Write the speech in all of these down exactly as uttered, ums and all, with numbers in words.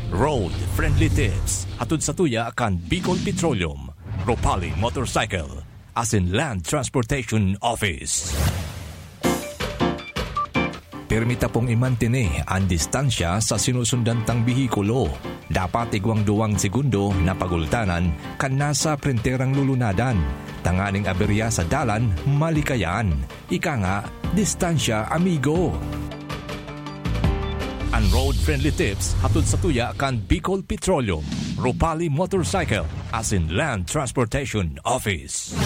Road Friendly Tips, hatod sa tuya kan Bicol Petroleum, Ropali Motorcycle, asin Land Transportation Office. Pirmi ta pong imantene an distansya sa sinusundan tang behikulo. Dapat igwang duwang segundo na pagultanan kan nasa prenterang lulunadan, tanganing aberya sa dalan, malikayan. Ika nga, distansya, amigo. An Road Friendly Tips hatod sa tuya kan Bicol Petroleum, Ropali Motorcycle, asin Land Transportation Office.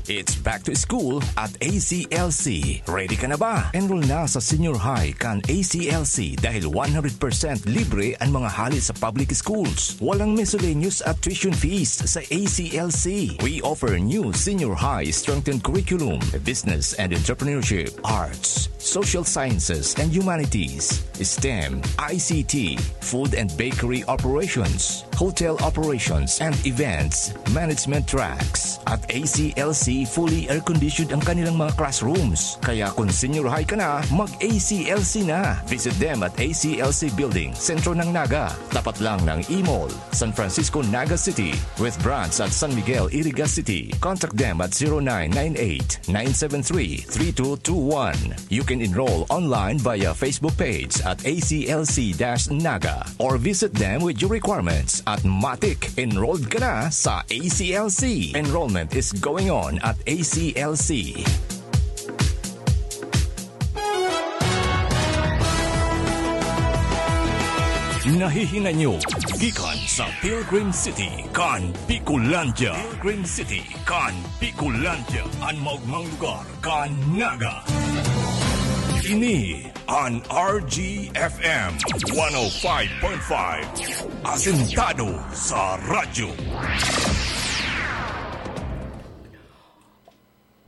It's back to school at A C L C. Ready ka na ba? Enroll na sa senior high kan A C L C dahil one hundred percent libre ang mga hali sa public schools. Walang miscellaneous at tuition fees sa A C L C. We offer new senior high strengthened curriculum, business and entrepreneurship, arts, social sciences and humanities, STEM, I C T, food and bakery operations, hotel operations and events management tracks. At A C L C, fully air-conditioned ang kanilang mga classrooms. Kaya kung senior high ka na, mag-A C L C na. Visit them at A C L C Building, sentro ng Naga, tapat lang ng E-Mall, San Francisco, Naga City, with branch at San Miguel, Iriga City. Contact them at zero nine nine eight, nine seven three, three two two one. You can enroll online via Facebook page at A C L C dash Naga or visit them with your requirements at Matik. Enrolled ka na sa A C L C. Enrollment is going on at A C L C. Nahihinay nyo gikan sa Pilgrim City kan Bicolandia. Pilgrim City kan Bicolandia, an maogmang lugar kan Naga. Ini an R G F M one oh five point five, asentado sa radyo.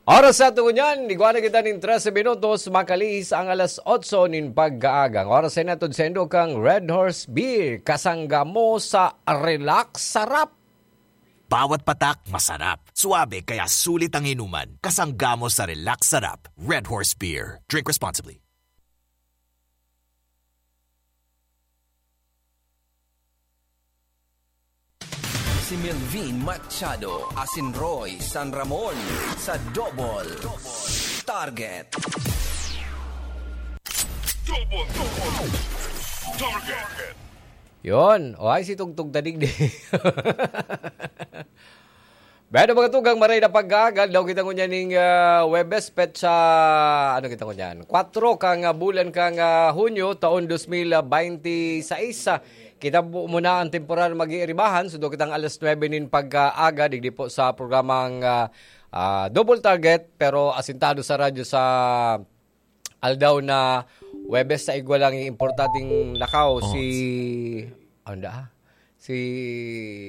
Oras sa tungo niyan, igwa na kita nin trese minutos, makalihis ang alas otso nin pagkaaga. Ang oras ay natod sendo kang Red Horse Beer, kasangga mo sa Relax Sarap. Bawat patak, masarap. Suabe, kaya sulit ang inuman. Kasangga mo sa Relax Sarap. Red Horse Beer. Drink responsibly. Si Melvin Machado asin Roy San Ramon sa Double Target. Double, double target. Yon. O, ay, si Tugtog Tadig di. Bueno, mga tugang, maray na pagkaaga, daw kita ngunyan ning, ah, Huwebes, petsa, ano kita ngunyan? Kwatro kang, ah, bulan kang, ah, Hunyo, taon dos mil binte y seis. Ah, kita po muna ang temporal mag-iiribahan. Sundo kitang alas nuebe nin pagkaaga, digdi po sa programang, ah, ah, Double Target, pero asintado sa radyo sa aldaw na Huwebes sa igwa lang importanteng lakaw, Oh, si, ano da? Si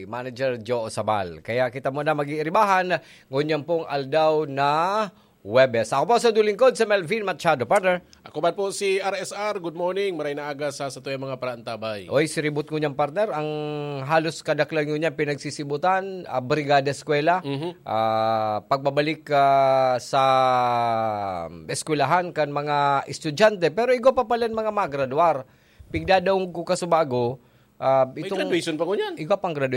Manager Joe Sabal. Kaya kita mo na mag-iiribahan, ngunyan pong aldaw na Huwebes. Ako po sa dulingkod, si Melvin Machado, partner. Ako man po si R S R. Good morning. Maray na aga sa satuyang mga paraantabay. Oy, si Ribot ngunyan, partner. Ang halos kadaklan ngunyan pinagsisibutan, ah, Brigada Eskwela. Mhm. Ah, pagbabalik, ah, sa eskwelahan kan mga estudyante. Pero igwa pa pala ang mga magradwar. Pigdadaong ko kasubago, ah, May itong graduation pa ngunyan. Igwa pang graduation.